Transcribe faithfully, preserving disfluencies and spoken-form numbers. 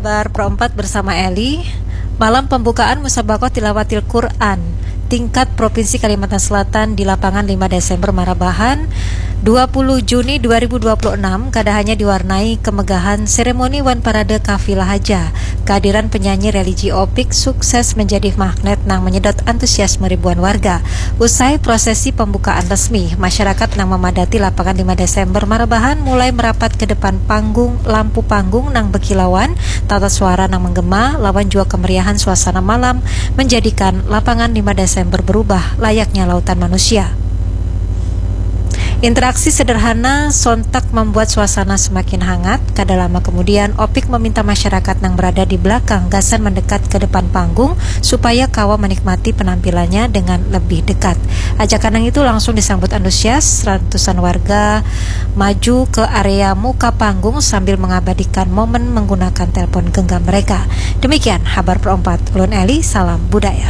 Bar perempat bersama Eli. Malam pembukaan Musabakoh Tilawatil Quran tingkat Provinsi Kalimantan Selatan di lapangan lima Desember Marabahan, dua puluh Juni dua ribu dua puluh enam, kada hanya diwarnai kemegahan seremoni wan parade kafilah haja. Kehadiran penyanyi religi Opik sukses menjadi magnet nang menyedot antusiasme ribuan warga. Usai prosesi pembukaan resmi, masyarakat nang memadati lapangan lima Desember Marabahan mulai merapat ke depan panggung, lampu panggung nang berkilauan, tata suara nang menggema, lawan jua kemeriahan suasana malam menjadikan lapangan lima Desember berubah layaknya lautan manusia. Interaksi sederhana sontak membuat suasana semakin hangat. Kada lama kemudian, Opik meminta masyarakat nang berada di belakang gasan mendekat ke depan panggung supaya kawa menikmati penampilannya dengan lebih dekat. Ajakan nang itu langsung disambut antusias, ratusan warga maju ke area muka panggung sambil mengabadikan momen menggunakan telepon genggam mereka. Demikian Habar Perempat, ulun Eli, salam budaya.